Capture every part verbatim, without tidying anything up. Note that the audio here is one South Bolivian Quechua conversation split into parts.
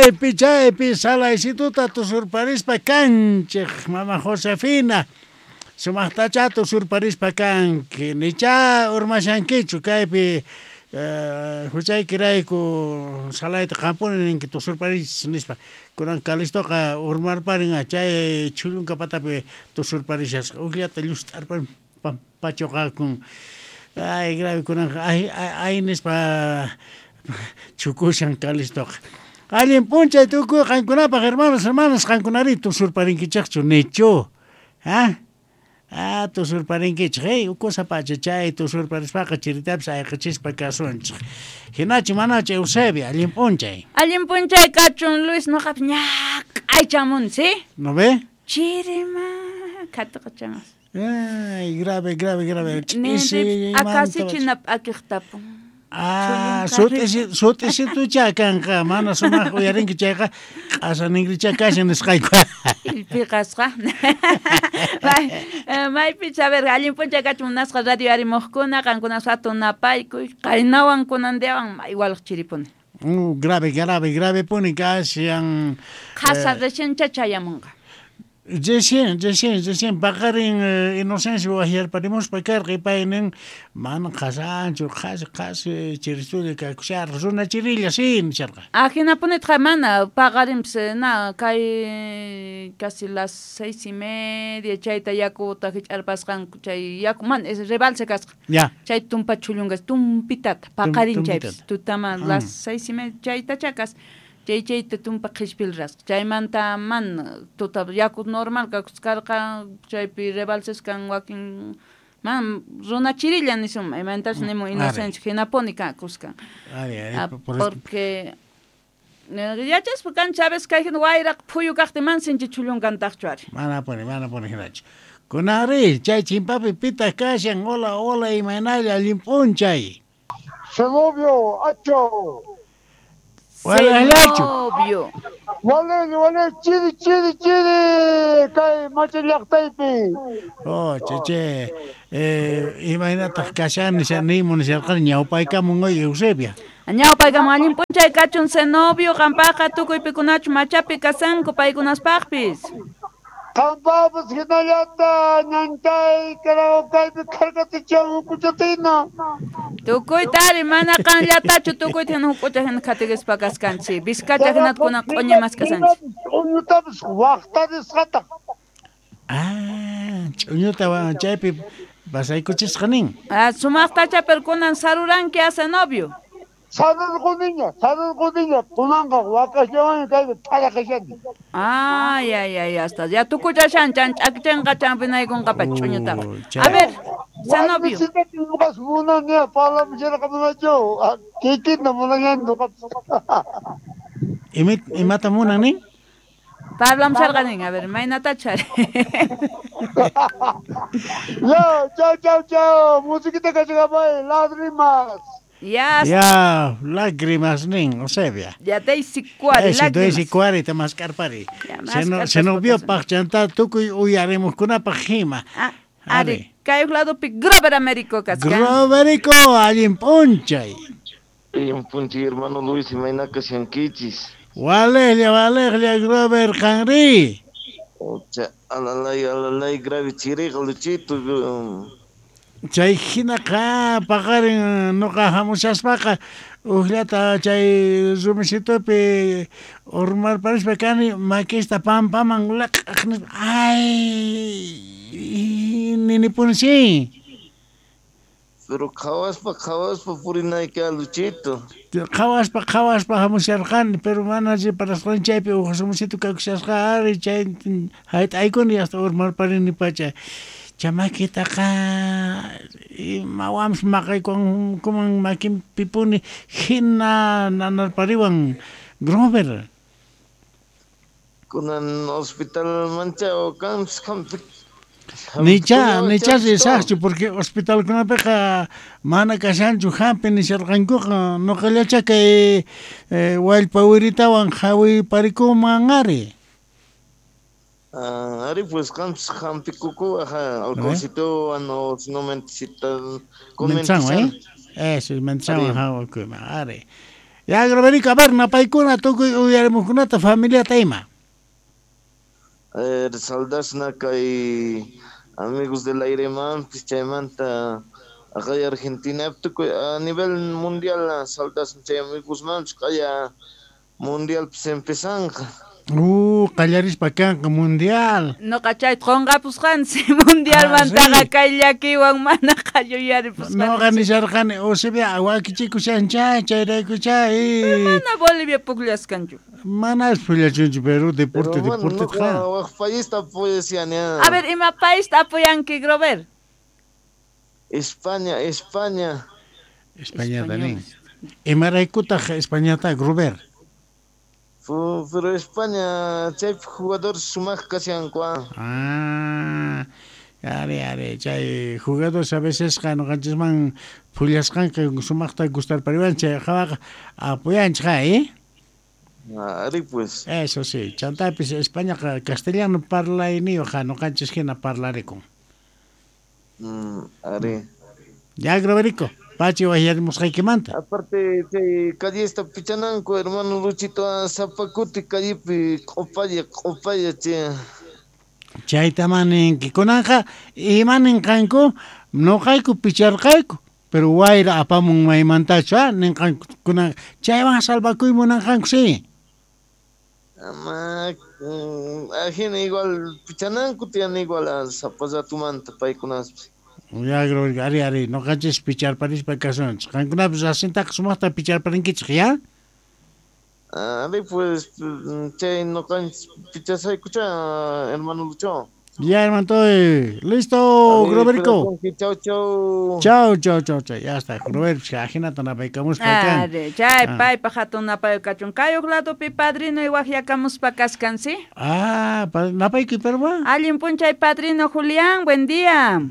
Chaypi chaypi salaysituta tusurparispa kanchej mama Josefina. Sumaqtacha tusurparispa kanki. Nicha urmashankichu kaypi huchaykirayku salayta qampuni ninki tusurparis nispa. Kunan Calistoqa urmarparin chay chhullunka patapi tusurparishasqa. Ujllata llust'arparin pampachuqakun. Ay, grave kunanqa ay ay nispa chukushan Calistoqa. Allin p'unchay tukuy qankunapaq hermanos, hermanas, qankunari tusurparinkichikchu nichu. Ha? Ah, tusurparinkichik, hey, ukusa pacha chay tusurparispaqa chiritapis ayqichispa kasunchik. Hinachu manachu Eusebia, allin p'unchay. Allin p'unchay kachun Luis, noqapis ñaq'aychamun, ¿sí? ¿No ve? Chirima, khatuqachamas. Ay, grave, grave, grave. Akasichina p'akiqtapun. Ah, sut'isitucha kanqa, mana sumaq uyarinki chayqa q'asaningricha kashan nisqayku. Illpiqasqa. Maypi saber, allin p'unchay kachun munasqa radio arimuqkuna, qankuna hatun napaykuy, qaynawan kunandiawan igual chiripuni. Uh, grave, grave, grave puni kashan. Qhasa recién chayamunqa. Recién, recién, recién paqarin Inocencio waqyarparimuspa karqa paynin mana qhasanchu, qhasi, qhasi chiristulla kakusharqa, runa chirilla sí nisharqa. Ajinapunitqa mana paqarinpis na kay casi las seis y media chayta yakuta hich'arpasqanku chay yaku mana es rebalse kasqa. Ya. Chay tumpa chhullunkas tumpitata paqarin chaypis tutama las seis y media chayta chakas. Chay chayta tumpa qhispil rasqa. Chaymanta man tuta yaku normal kakuskarqa chaypi rebalses kan wakin man runa chirilla nisun maymantas nimun Inocencio hinapuni kakuskan. Porque yachaspa kan Chávez kay hina wayraq phuyu kaqtin man sinchi chhullunkan ari. Mana puni, mana puni hinachu. Kunari chay chimpapi pitaq kashan, hola, hola, imaynalla allin p'unchay. Zenobio, acho. Zenobio. Wale, wale, chiri, chiri, chiri, kay machillaqtaypi. Oh, che, che, eh, imaynataq kashan nisanimu nisharqani ñawpaykamun hoy Eusebia. Ñawpaykamun allin p'unchay kachun Zenobio, qampaqqa tukuy pikunachu machapi kasanku paykunaspaqpis. Qampapas hinallata ñanchay karaokaypi kharkatichan hukuchatina. Tukuytari mana qanllatachu tukuyta hina hukucha hina khatikispa kaskanchik. Vizcacha hinata kunan q'uñimas kasanchik. Ch'uñutapas waqtarisqataq. Ah, ch'uñuta chaypi pasaykuchisqa nin. Ah, sumaqtacha pero kunan saruranki a Zenobio. Sarurquniña, sarurquniña, kunanqa wakasllawanña kaypi p'araqashani. Ay, ay, ay, hasta ya tukuchashan chan ch'akichinqa champinaykunqapacha ch'uñutaqa. A ver, Zenobio. Ñuqas munani parlamusharqa munachu, kikinta munayani ñuqapas. Imata munan nin? Parlamusharqa nin, a ver, maynatachu ari. Ya, chao, chao, chao, musiquita kachakapay, lágrimas. Ya, ya, lágrimas nin, Eusebia. Ya, Daisy Cuari, lágrimas. Daisy Cuari, tamaskarpari. Se nos vio paqchanta tukuy uyarimuqkunapaq hima. Ah, ari, kay ladopi Grover Américo kaskan. Groverico, allin p'unchay. Allin p'unchay, hermano Luis, imayna kashankichis. Walejlla, walejlla, Grover, qanri. Ocha, alalay, alalay, grave chiriqa, Luchito. Chay hinaqa paqarin noqa hamushaspaqa ujllata chay rumisitupi urmarparispa kani makista pampaman laq'aq nispa ay ninipuni sí. Pero qhawaspa qhawaspa purinayki Luchito. Qhawaspa qhawaspa hamusharqani pero mana riparasqani chaypi uj rumisitu kakushasqa ari chay hayt'aykuni hasta urmarparini pacha. Chamakitaqa imawanpis maqaykuman makinpipuni hina nanarpariwan Grover. Kunan hospital mancha o kanpis hampi. Nicha, nicha risaqchu porque hospitalkunapiqa mana kashanchu hampi nisharqankuqa nuqallacha kay wallpa wiritawan hawiparikunman ari. Ah, ari pues qampis hampikuku aja alcoholcito no no mentisita con eh? Eso, mentizan hawakuyman ari. Ya, Groverico, a ver, napaykuna tukuy uyarimuqkunata familiata ima. A ver, saldasna kay amigos del aire mampis chaymanta acá Argentina tukuy a nivel mundial saldasna chay amigos mampis kaya mundial pues empezanqa. Uh, qallarispa kanqa mundial. Noqa chayta qunqapusqansi mundialmantaqa kay llakiwan mana qalluyaripusqansi. Noqa nisharqani Eusebia wakichikushancha chayraykucha y mana Bolivia pukllaskanchu. Mana pullachunchu pero deporte deporte qa. Waq paista apoyashan. A ver, ima paista apoyanki, Grover? España, España. Españata nin. Imaraykutaq Españata, Grover? Pero España, chay jugador sumaq kashanku. Ah, are, are, chay jugadores a veces noqanchisman pullasqanqa sumaqta gustarpariwan chay hawaqa apoyanchik, ¿eh? Ari pues. Eso sí, chantapis Españaqa castellano parlayniyuq noqanchis hina parlarikun. Mm, ari. Ya, Groverico. Pachi wayarimusqaykimanta. Aparte chay callesta pichananku hermano Luchito sapakuti callepi q'upalla q'upalla chay. Chayta maninki kunanqa ima ninqanku noqayku picharqayku pero wayra apamun maymantachu ah ninqanku kunan chaywan salvakuy munanqanku sí. Ama ajina igual pichananku tiyan igual sapallatumanta paykunaspis. Ya, ari, ari, noqanchis picharparispa kasunchik. Qankunapis asintaqa sumaqta picharparinkichik, ya? Ari, pues, chay noqanchis pichasaykucha, hermano Lucho. Ya, hermano, estoy listo, Groverico. Chau, chau. Chau, chau, chau, chau. Ya está, Grover, ajinata napaykamuspa kan. Ari, chay, paypa hatun napayukachun. Kay huk ladopi padrino waqyakamuspa kaskan, ¿sí? Ah, napaykuy, perwa. Allin punchay, padrino Julián, buen día.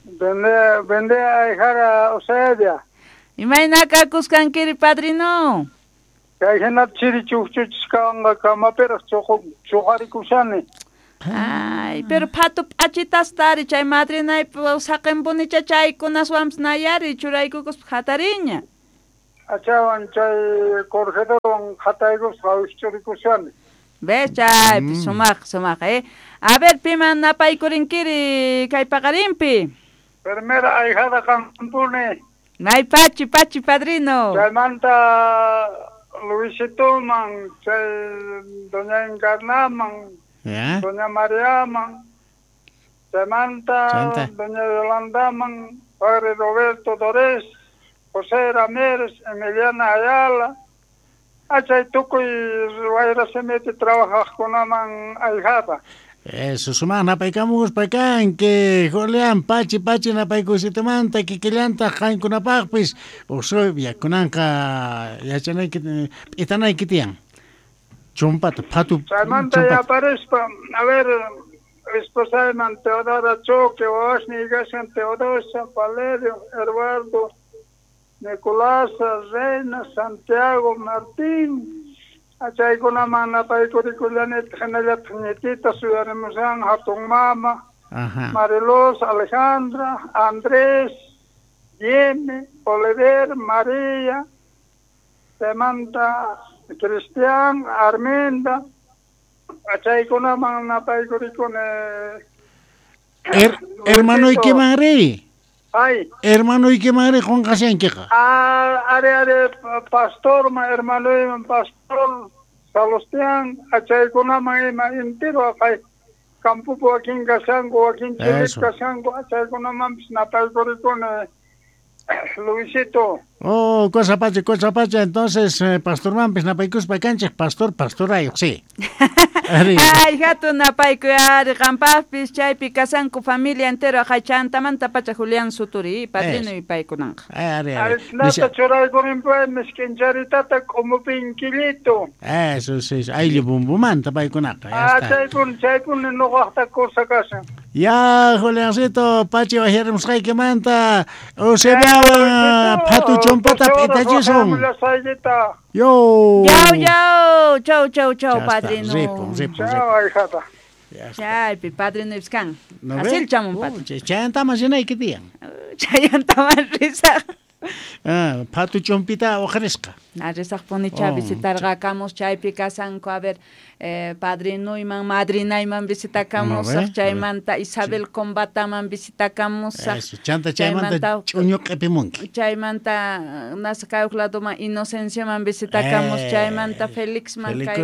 Buen buen día, hijara Eusebia. Imayna kakusqankiri, padrino? Kay hina chiri chukchuchisqanqa kamapiraq chuqarikushani. Ay, pero phatu p'achitastari chay madrinaypi saqinpunicha chaykunaswanpis nayari churaykukuspa hatariña. Achawan chay corredorwan hataykuspa wikchurikushani. ¿Ves? Chaypi sumaq sumaq, eh. A ver, piman napaykurinkirí kay paqarinpi. Primera ahijada qampuni. May pachi, pachi, padrino. Chaymanta Luisitoman, chay doña Encarnaman, ¿Ya? Doña Mariaman, chaymanta doña Yolandaman, padre Roberto Dorés, José Ramírez, Emiliana Ayala, achay tukuy wayrasimiti trabajaqkunaman ahijada. Eso, sumaq napaykamuspa kanki, Julián, pachi, pachi napaykusitumanta, kikillanta qankunapaqpis, Eusebia, kunanqa yachanayki, p'itanayki tiyan. Chumpata, phatu. Chaymanta yaparispa, a ver, esposayman Teodora Choque, wawasniy kashan Teodosia, Valerio, Eduardo, Nicolás, Reina, Santiago, Martín. Achaykunaman napaykurikullani hinallataq ñitita suyarimushan hatun mama, Marilos, Alejandra, Andrés, Jimmy, Oliver, María, chaymanta Cristian, Arminda, achaykunaman napaykurikuni. Her, hermanoykiman riy. Ay. Hermanoykiman riy qunqashankiqa. Ah, are, are, pastorman, hermanoyman, pastor Salustian, achaykunaman ima entero aqay campopi wakin kashanku, wakin chirip kashanku, achaykunamanpis napaykurikuni. Luisito. Oh, cosa pacha, cosa pacha. Entonces, eh, pastormanpis napaykuspa kanchik, pastor, pastorayuq, sí. Ay, hatun napaykuy ari qampaqpis chaypi kasanku familia entero aqay chantamanta pacha Julián Suturi, padrino y paykunanqa. Ari, ari. Nata churaykurinpay misk'incharitata k'umupinkillito. Eso sí, ayllu bumbumanta paykunaqa. Ah, chaypuni, chaypuni nuqaqta cosa kashan. Ya, Juliancito, pachi wajyarimusqaykimanta, Eusebiawan phatu chumpata p'itachisun. Yo. Yau, yau, chau, chau, chau, padrino. Ripun, ripun, Chau, ahijada. Chaypi, padrino iskan. Asil chamun padrino. Chayantaman rinayki tiyan. Chayantaman risaq. Ah, phatu chumpita uqarisqa. Arisaqpunicha oh. Visitarqakamus chaypi kasanku a ver eh, padrinuyman madrinayman visitakamusaq chaymanta Isabel Combataman visitakamusaq. Eso, chanta chaymanta ch'uñu q'ipimunki. Chaymanta nasa kay huk ladoman Inocencioman visitakamus eh, chaymanta Felixman kay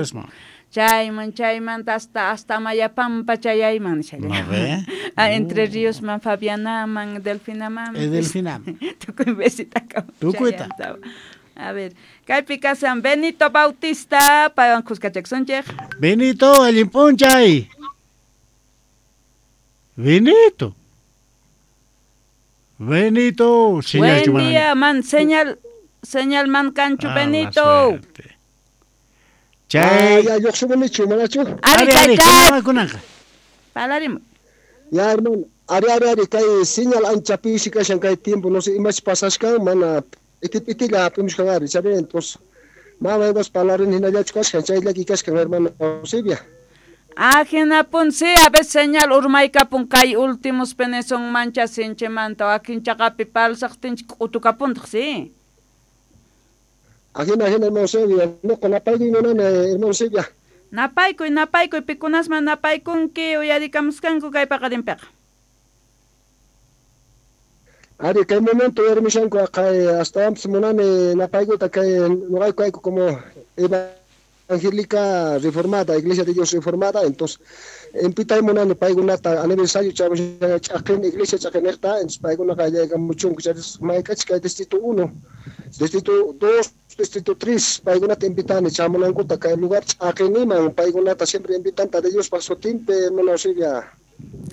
chayman chaymanta hasta hasta Mayapampa chayayman no, ah, Entre Ríosman Fabianaman Delfinaman eh, Delfinaman tukuy visitakamus tukuyta. A ver, kaypi kasan Benito Bautista, paywan kuskachakusunchik. Benito, allin p'unchay. Benito. Benito, señal. Buen día, man, señal, señal man cancho, ah, Benito. Chay. Ya, lluqsimunichu, manachu? Ari, ari, chay. Palarimu. Ya, hermano, ari, ari, ari, kay señal ancha pisi kashan kay tiempo, no sé, imach pasashkan, mana itipitila hap'imushkan ari, chavi, entonces, mama imas palarin hinallachu kashkan, chayllaki kashkan, hermano Eusebia. Ah, hinapun, sí, a veces señal urmaykapun kay últimos peneson mancha sinchimanta, wakin chaqapi palsaqtinchik k'utukapuntaq, sí. Ajina, ajina, hermano Eusebia, nuqa napaykuy munani, hermano Eusebia. Napaykuy, napaykuy, pikunasman napaykunki uyarikamuskanku kay paqarinpiqa. Ari, kay momento hermishanku kay hasta munani napaykuta kay nuqayku ayku como evangélica reformada, Iglesia de Dios reformada, entonces empitay munani paykunata aniversario ch'aqin iglesia ch'aqinejta, entonces paykunaqa llaykamuchunku mayk'achik kay distrito uno, distrito dos, distrito tres, paykunata invitani chamunankuta kay lugar ch'aqiniman paykunata siempre invitanta de Diospa sutinpi, hermano Eusebia.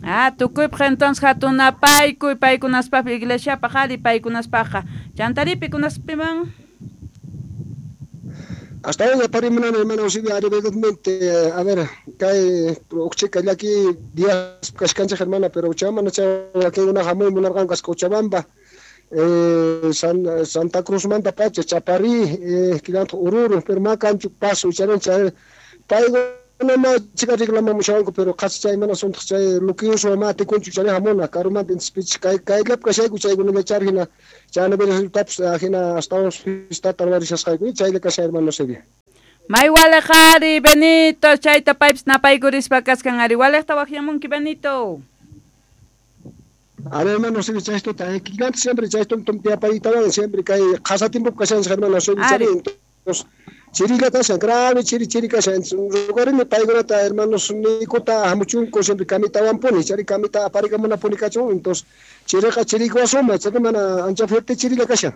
Ah, tukuypaq entonces hatun napaykuy paykunaspaq iglesiapaq ari paykunaspaqqa. Chantari pikunaspiman. Hasta hoy aparimunani hermano Eusebia, ari verdaderamente, a ver, kay uqchika llaki días kashkanchik hermana, pero chamana chay wakinkuna hamuy munarqanku kasqa Cochabamba, eh, San, Santa Cruz manta pacha, Chaparí, eh, kilantaq Oruro, pero ma kanchu paso charin chay paykuna ma chika reclamamushawanku, pero qhasi chay mana suntaq chay luquiyuswan ma atikunchu chay hamuna karumanta intispich kay kayllap kashayku chaykunalla char hina chay aniversariotapis hina astawan fiestata ruwarishasqayku chaylla kashan hermano Eusebia. May waliq ari Benito, chayta paypis napaykurispa kaskan ari waliqta waqyamunki Benito. Ari hermano Eusebia, chaystuta kikilanta siempre chaytum tiapaytawan siempre kay qhasa tiempopi kashanchik hermano Eusebia, chay entonces chirilla kashan, grave chiri chiri kashan, rugarini paykunata hermanos nikuta hamuchunku siempre kamitawanpuni, chari kamita aparikamunapuni kachun, entonces chiriqa chirikuwasuma, chari mana ancha fuerte chirilla kashan.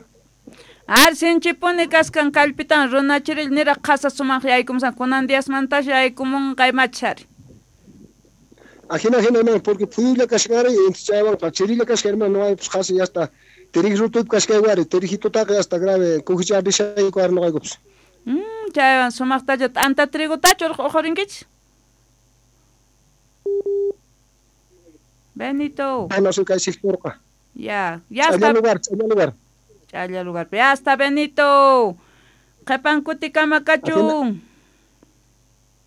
Ar sinchipuni kaskan kallpitan runa chirilla niraq qhasa sumaq yaykumusan kunan diasmantash yaykumunqa imachari. Ajina, ajina, hermano, porque phuyulla kashan ari, entonces chaywanqa chirilla kashan, hermano, no hay pues qhasi ya está, tirij kashkaywari, tirijitutaqa ya está grave, kujicha rishayku ari nuqaykupis. Mm, chaywan sumaqtacha t'anta trigotachu uqhurinkichik? Benito. Ah, no sé kay sectorqa. Ya, ya está. Ch'alla lugar, ch'alla lugar. Ch'alla lugar. Ya está Benito. Qhipan kutikama kachun.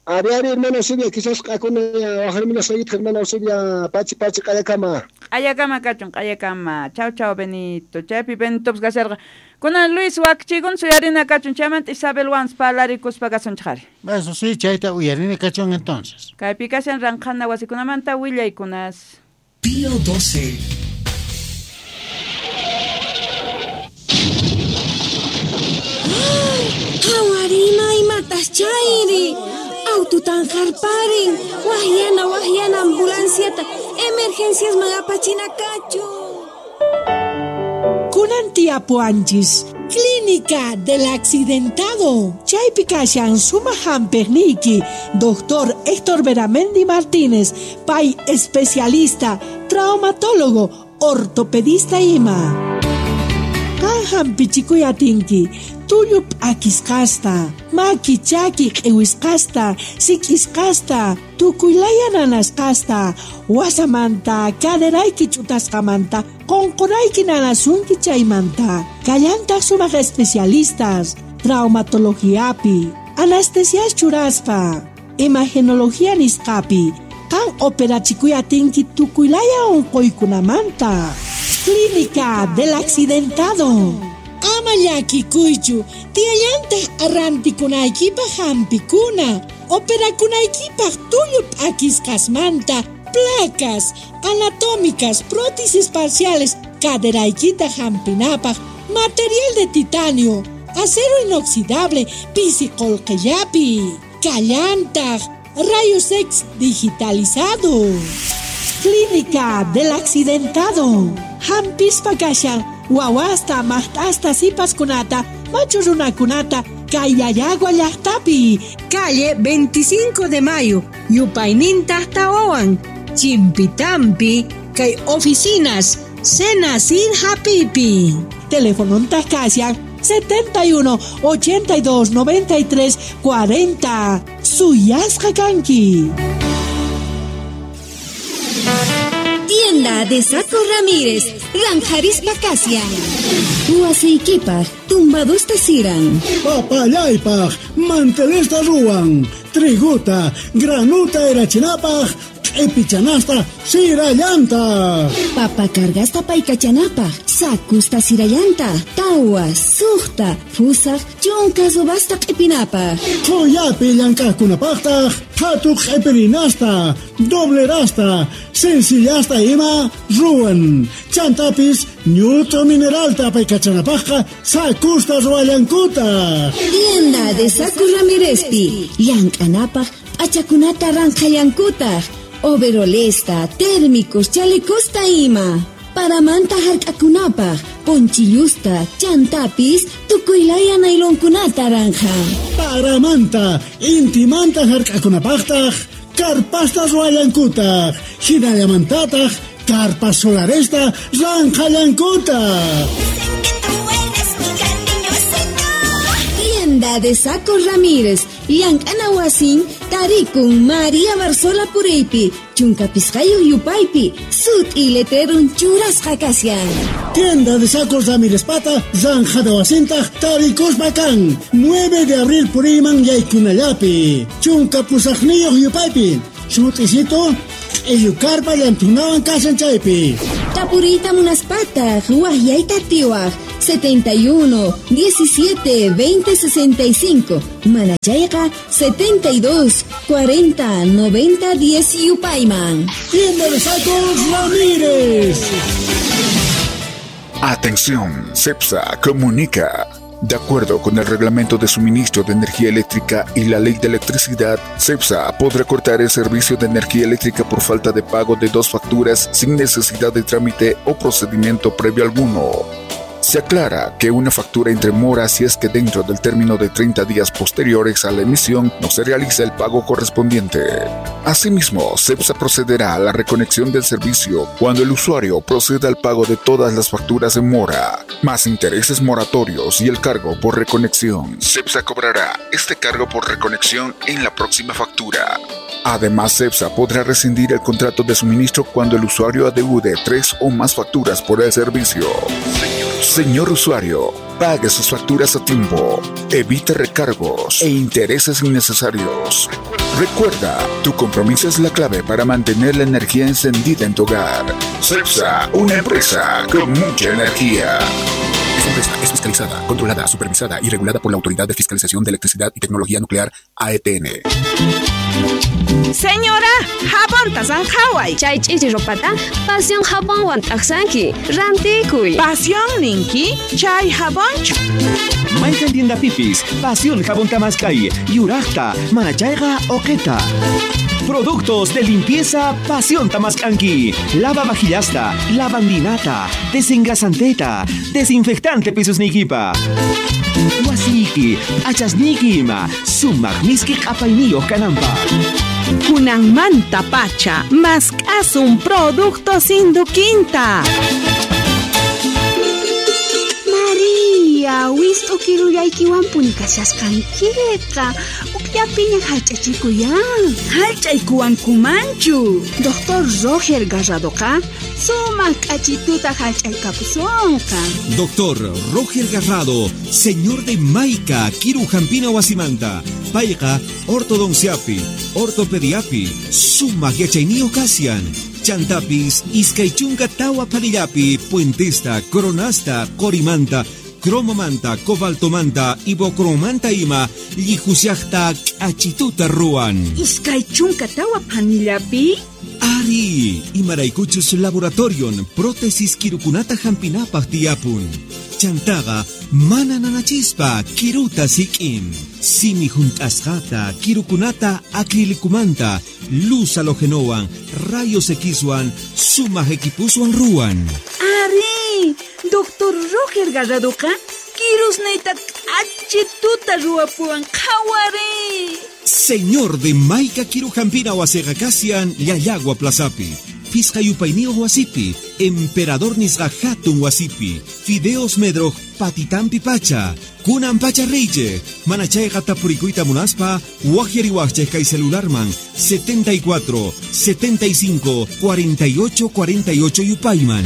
Ari, ari, hermano Eusebia, quizás q'akuna waqharminasqaykitaq hermano Eusebia, pachi pachi q'ayakama. Q'ayakama kachun, q'ayakama. Chau chau Benito. Chaypi Benitopas kasharqa. Kunan Luis wakchikun suyarina kachun, chaymanta Isabel Wans palarikuspa kasunchik ari. Eso sí, chayta uyarina kachun entonces. Kaypi kashan ranqhana wasikunamanta willaykunas. Pío doce. Hawarima imatas chayri. Aututan harparin, wahyana wahyana ambulanciata, emergencias magapachina kachu. Kunan tiapuanchis, Clínica del Accidentado. Chaypi kashan sumaq hampiqniyki, doctor Héctor Beramendi Martínez, pay especialista, traumatólogo, ortopedista ima. Qan hampichikuy atinki, tullu p'akisqasta, maki chaki q'iwisqasta, sik'isqasta, tukuylaya nanasqasta, wasamanta, caderayki ch'utasqamanta, qunqurayki nanasunki chaymanta. Kallantaq sumaq especialistas, traumatologiapi, anestesias churaspa, imagenología nisqapi, qan operachikuy atinki tukuylaya unquykunamanta. Clínica del Accidentado. Ama llakikuychu, tiyallantaq rantikunaykipaq hampikuna, operakunaykipaq tullu p'akisqasmanta, placas, anatómicas, prótesis parciales, caderaykita hampinapaq, material de titanio, acero inoxidable, pisi qullqillapi, kallantaq, rayos X digitalizado. Clínica del Accidentado. Hampispa kashan, wawasta, maqt'asta, sipaskunata, machu runakunata, Kayayagua llaqtapi. Calle veinticinco de Mayo, yupayninta tawawan, Chimpitampi, kay oficinas, Senacid Hapipi. Teléfono kashan setenta y uno, ochenta y dos, noventa y tres, cuarenta. Suyasqa kanki. Tienda de Saco Ramírez, Ranjarispa Casia. Huasiykipaj, tumbadusta siran. Papallaypaj, mantelesta ruwan. Triguta, granuta erachinapaj, q'ipichanasta sirallanta. Papa cargasta paykachanapaj, sakusta sirallanta, tawa, suqta, fusaj, chunka subasta q'ipinapaj. Qhuyapi llank'aqkunapaqtaq, qhatu q'ipirinasta, doblerasta, sencillasta ima ruwan. Chantapis ñut'u mineralta paykachanapaqqa sakusta ruwallankutaq. Tienda de Saco Ramírezpi, llank'anapaq p'achakunata ranqhallankutaq. Overolesta, térmicos, chalecosta ima. Paramanta hark'akunapaq, ponchillusta, chantapis, tukuylaya nailonkunata ranja. Paramanta, intimanta hark'akunapaqtaq, karpasta ruwallankutaq, hinallamantataq, karpas solaresta ranqhallankutaq. Tienda de Saco Ramírez, llank'ana wasin, tarikun María Barzola Pureypi, chunka pisqayuq yupaypi, sut'i letrerun churasqa kashan. Tienda de Sacos Ramírez pata, zanjada wasintaq tarikuspa kan, nueve de abril puriyman yaykunallapi, chunka pusaqniyuq yupaypi, sut'isito, q'illukarpa llantunawan kashan chaypi. Tapuriyta munaspataq, waqyayta atiwaq, setenta y uno, diecisiete, veinte, sesenta y cinco. Manachayqa, setenta y dos, cuarenta, noventa, diez yupayman. Tienda de Sacos Ramírez. Atención, CEPSA comunica. De acuerdo con el Reglamento de Suministro de Energía Eléctrica y la Ley de Electricidad, CEPSA podrá cortar el servicio de energía eléctrica por falta de pago de dos facturas sin necesidad de trámite o procedimiento previo alguno. Se aclara que una factura entre mora si es que dentro del término de treinta días posteriores a la emisión no se realiza el pago correspondiente. Asimismo, CEPSA procederá a la reconexión del servicio cuando el usuario proceda al pago de todas las facturas en mora, más intereses moratorios y el cargo por reconexión. CEPSA cobrará este cargo por reconexión en la próxima factura. Además, CEPSA podrá rescindir el contrato de suministro cuando el usuario adeude tres o más facturas por el servicio. Señor usuario, pague sus facturas a tiempo, evite recargos e intereses innecesarios. Recuerda, tu compromiso es la clave para mantener la energía encendida en tu hogar. CEPSA, una empresa con mucha energía. Esta empresa es fiscalizada, controlada, supervisada y regulada por la Autoridad de Fiscalización de Electricidad y Tecnología Nuclear, A E T N. Señora, jabonta zanjaway. Chay ch'ichi ropata, pasión jabonwan t'aqsanki, rantikuy. Pasión ninki, chay jabonchu. Mayqan tienda pipis, pasión jabón tamaskay, yuraqta, manachayqa oqeta. Productos de limpieza Pasión Tamascanqui. Lava vajillasta, lavandinata, desengrasanteta, desinfectante pisos nikipa. Wasiki, achasniki ima, sumaq miski q'apayniyuq kananpaq. Kunanmanta pacha, mask'asun productos induquinta. María, wist'u kirullaykiwanpuni kashasqankiqa. Ukllapiña hallch'achikuyan. Hallch'aykuwankumanchu. Doctor Roger Garradoqa sumaq k'achituta hallch'aykapusunqa. Doctor Roger Garrado, señor de Maica, Kiru Jampina Wasimanta, Payqa, ortodonciapi, ortopediapi, sumaq yachayniyuq kashan. Chantapis, iskay chunka tawa parillapi, puentesta, coronasta, qorimanta, Cromomanta, cobaltomanta, ibocromanta ima llijushaqta k'achituta ruwan. Iskay chunka tawa phanillapi? Ari, imaraykuchus laboratorion prótesis kirukunata hampinapaq tiyapun. Chantaqa mana nanachispa kiruta sik'in. Simi junt'asqata kirukunata acrilicumanta luz halogenowan rayos Xwan sumaq equipuswan ruwan. Ari, doctor Roger Garradoqa kirusniyta k'achituta ruwapuwan qhawari. Señor de Maica Kirujampina wasiqa kasian Llallagua Plazapi, Fisqa yupayniyuq wasipi, Emperador nisqa hatun wasipi, Fideos Medroj patitampi pacha, kunan pacha reyche, mana chayqa tapurikuyta munaspa, waqyariwaqchej kay celularman setenta y cuatro, setenta y cinco, cuarenta y ocho, cuarenta y ocho yupayman.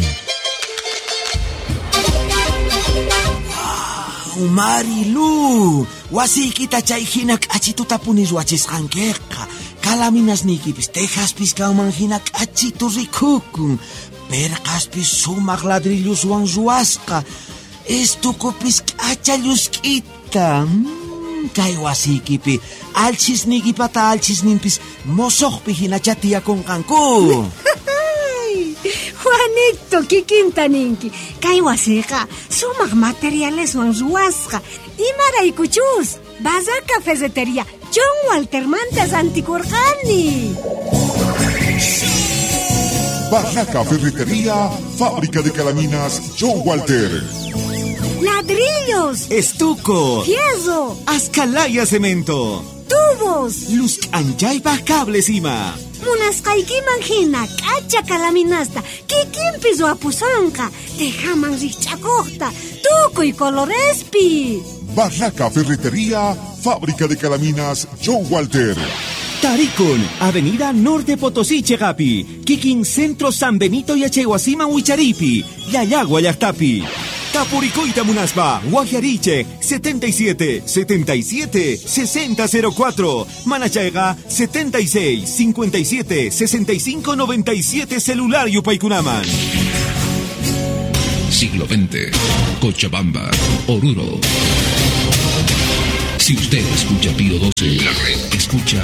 Marilu, wasiykita chay hina k'achituta puni ruwachisqankiqa. Kalaminasniykipis tejaspis kanman hina k'achitu rikukun. Perqaspis sumaq ladrilluswan ruwasqa. Estukupis k'acha llusk'ita. Mm, kay wasiykipi alchisniykipata alchisninpis mosoqpi hinacha tiyakunqanku. Juanito, kikinta ninki. Kay wasiqa sumaq materialeswan ruwasqa. Imaraykuchus Barraca Ferretería John Waltermanta rantikurqani. Barraca Ferretería, fábrica de calaminas John Walter. Ladrillos, estuco, fierro, ascalaya cemento, tubos, luz anchaypaj cables ima. Munasqaykiman hina k'acha kalaminasta kikinpi ruwapusonqa, tejaman rikch'akuqta, tukuy colorespi. Barraca Ferretería, fábrica de calaminas John Walter. Tarikun, Avenida Norte Potosí, Chegapi, Kikin Centro San Benito y Achehuasima Huicharipi, Llallagua Llaqtapi. Tapuricoita Munaspa, Guajariche, setenta y siete, setenta y siete, sesenta cero cuatro, Manachaiga, setenta y seis, cincuenta y siete, sesenta y cinco, noventa y siete, celular Yupaykunaman. Siglo veinte, Cochabamba, Oruro. Si usted escucha Pío doce, la red escucha